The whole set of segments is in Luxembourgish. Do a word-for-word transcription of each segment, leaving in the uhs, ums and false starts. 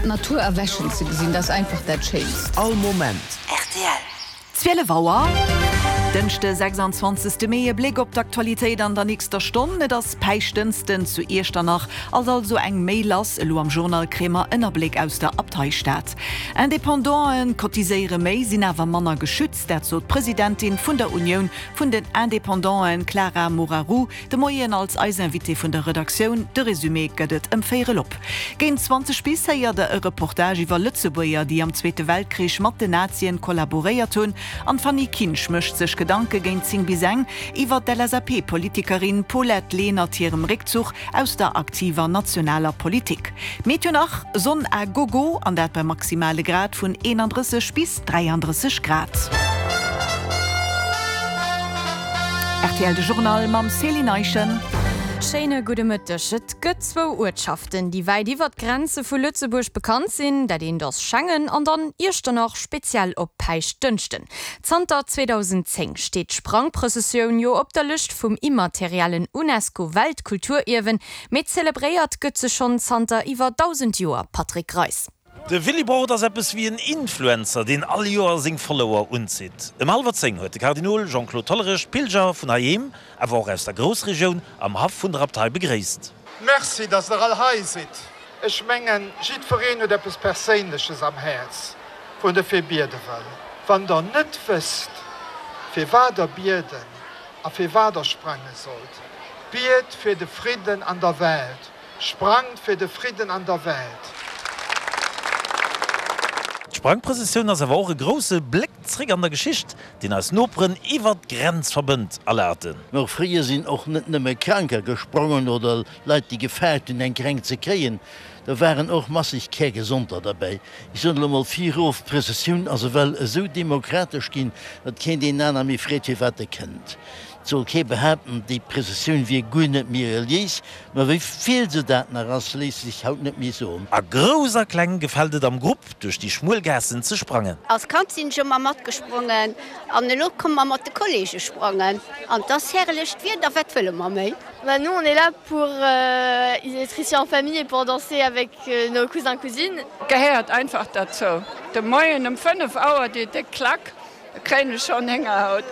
D'Natur erwächen ze gesinn, dat ass einfach dat Schéinst. All Moment. Rtl. Zwielef Auer, Dënschde sechsanzwanzegste Mee, E Bléck op d'Aktualitéit an der nächster Stonn, Et ass Päischtdënschden zu Iechternach, ass also eng méi lass. Elo am Journal kréie mer en Abléck aus der Abteistad. Independanten cotiséiere méi, sinn awer manner geschützt, dat sot d'Presidentin vun der Unioun vun den Independanten Clara Moraru de Moien als eis Invitée vun der Redaktioun. De Resumé gëtt et ëm véierel op. Géint zwanzeg bis héiert der e Reportage iwwer Lëtzebuerger, déi am Zweete Weltkrich mat den Nazien kollaboréiert hunn. An d'Fanny Kinsch mécht sech Gedanke géint zéng bis eng iwwer d'LSAP-Politikerin Paulette Lenert hirem Réckzuch aus der aktiver nationaler Politik. Meteo nach, Sonn à gogo, an dat bei maximale Grad vun eenandrësseg bis dräiandrësseg Grad. Rtl De Journal mam Céline Eischen. Schéine gudde Mëtteg. Et gëtt zwou Uertschaften, déi wäit iwwert d'Grenze vu Lëtzebuerg bekannt sinn. Dat eent ass Schengen an dann Iechternach, speziell op Päischtdënschden. Zanter zweedausendzéng steet d'Sprangprëssessioun jo op der Lëscht vum immateriellen Unesco-Weltkulturierwen, mee zelebréiert gëtt se schonn zanter iwwer dausend Joer, Patrick Greis. De Willibrord ass eppes wéi en Influencer, deen all Joer seng Follower unzitt. Ëm hallwer zéng huet de Kardinol Jean-Claude Hollerich d'Pilger vun heiheem, awer och aus der Groussregioun, am Haff vun der Abtei begréisst. Merci, dass der all hei sidd. Ech mengen, jiddwereen huet eppes Perséinleches am Häerz, wou en derfir biede wëll. Wann der net wësst, fir wat der bieden a fir wat der sprange sollt, biet fir de Fridden an der Welt. Sprangt fir de Fridden an der Welt! D'Sprangprëssessioun ass awer och e grousse Bléck zréck an der Geschicht, deen eis Noperen iwwert d'Grenz verbënnt, erlaten. Mä fréier sinn och net nëmme Kranker gesprongen oder Leit, déi gefaart hunn, eng Kränkt ze kréien. Do waren och masseg Kärgesonter derbäi. Ech soen elo mol virof, d'Prëssessioun ass ewell esou demokratesch ginn, datt keen deen aner méi freet, firwat e kënnt. Et soll kee behaapten, déi Prëssessioun wier guer net méi reliéis, ma wéi vill se dat nach ass, léisst sech haut net méi soen. A Grouss a Kleng gefält et am Grupp duerch déi schmuel Gaassen ze sprangen. Als Kand sinn ech ëmmer matgesprongen an elo komme mer mat de Kollege sprangen an et ass herrlecht Wieder, wat wëlle mer méi? Bah nous on est là pour être ici en famille et pour danser avec nos cousins cousines. Gehéiert einfach derzou. De Moien um fënnef Auer déi déck Klack. Da kréien ech schonn Héngerhaut.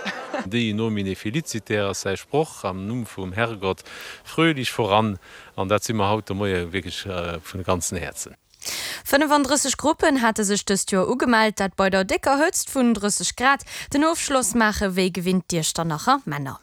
Dei nomine feliciter ass säi Sproch, am Numm vum Herrgott fröhlich voran. An dat si mer haut de Moie wierklech vun ganzen Häerzen. fënnefandrësseg Gruppen hate sech dëst Joer ugemellt, dat bei der décker Hëtzt vun drësseg Grad. Den Ofschloss maache wéi gewinnt d'Iechternacher Männer.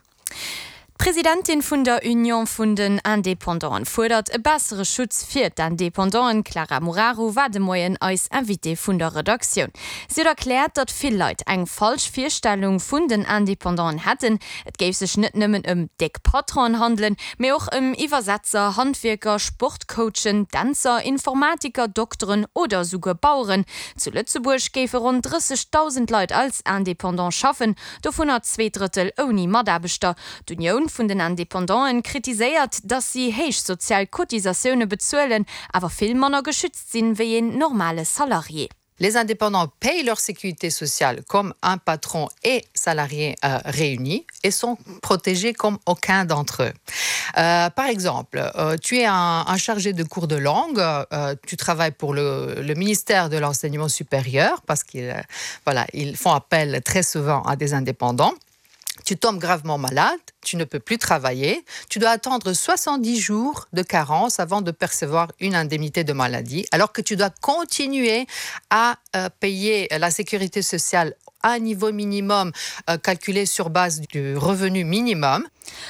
D'Presidentin vun der Union vun den Independanten fuerdert e bessere Schutz fir d'Independanten. D'Clara Moraru war de Moien eis Invitée vun der Redaktioun. Si huet erkläert, datt vill Leit eng falsch Virstellung vun den Independanten hätten. Et géif sech net nëmmen ëm déck Patronen handelen, mee och ëm Iwwersetzer, Handwierker, Sportcoachen, Dänzer, Informatiker, Dokteren oder souguer Baueren. Zu Lëtzebuerg géife ronn drëssegdausend Leit als Independant schaffen, dovunner zwee Drëttel ouni Mataarbechter. D'Unioun vun den Independanten kritiséiert, datt si héich sozial Cotisatioune bezuelen, awer vill manner geschützt sinn, wéi een normale Salarié. Les indépendants payent leur sécurité sociale comme un patron et salarié euh, réunis et sont protégés comme aucun d'entre eux. Euh, par exemple, euh, tu es un, un chargé de cours de langue, euh, tu travailles pour le, le ministère de l'enseignement supérieur parce qu'ils euh, voilà, ils font appel très souvent à des indépendants. Tu tombes gravement malade, tu ne peux plus travailler, tu dois attendre soixante-dix jours de carence avant de percevoir une indemnité de maladie, alors que tu dois continuer à euh, payer la sécurité sociale à un niveau minimum euh, calculé sur base du revenu minimum.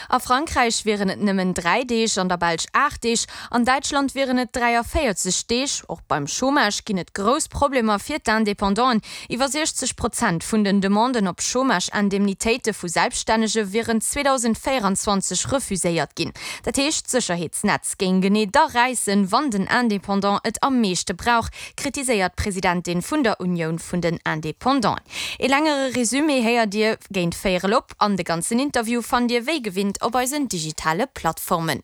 A Frankräich wieren et nëmmen dräi Deeg, an der Belsch aacht Deeg, an Däitschland wieren et dräiavéierzeg Deeg. Och beim Chômage ginn et grouss Problemer fir d'Independanten. Iwwer siechzeg Prozent vun den Demanden op Chômage-Indemnitéite vu Selbststännege wieren zweedausendvéieranzwanzeg refuséiert ginn. Dat heescht, d'Sécherheetsnetz géing genee da räissen, wann den Independant et am meeschte brauch, kritiséiert d'Presidentin vun der Unioun vun den Independanten. Ee längere Resumé héiert Dir géint véierel op an de ganzen Interview fannt Dir wéi gewinnt op eisen digitale Plattformen.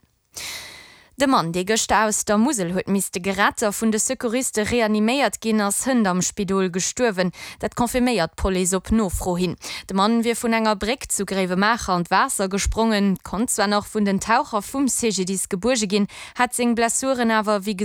De Mann, dee gëschter aus der Musel huet misste gerett a vun de Secouriste reaniméiert ginn, ass hënt am Spidol gestuerwen. Dat confirméiert d'Police op Nofro hin. De Mann wier vun enger Bréck zu Gréiwemaacher an d'Waasser gesprongen, konnt zwar nach vun den Taucher vum C G D I S gebuerge ginn, hat seng Blessuren awer wéi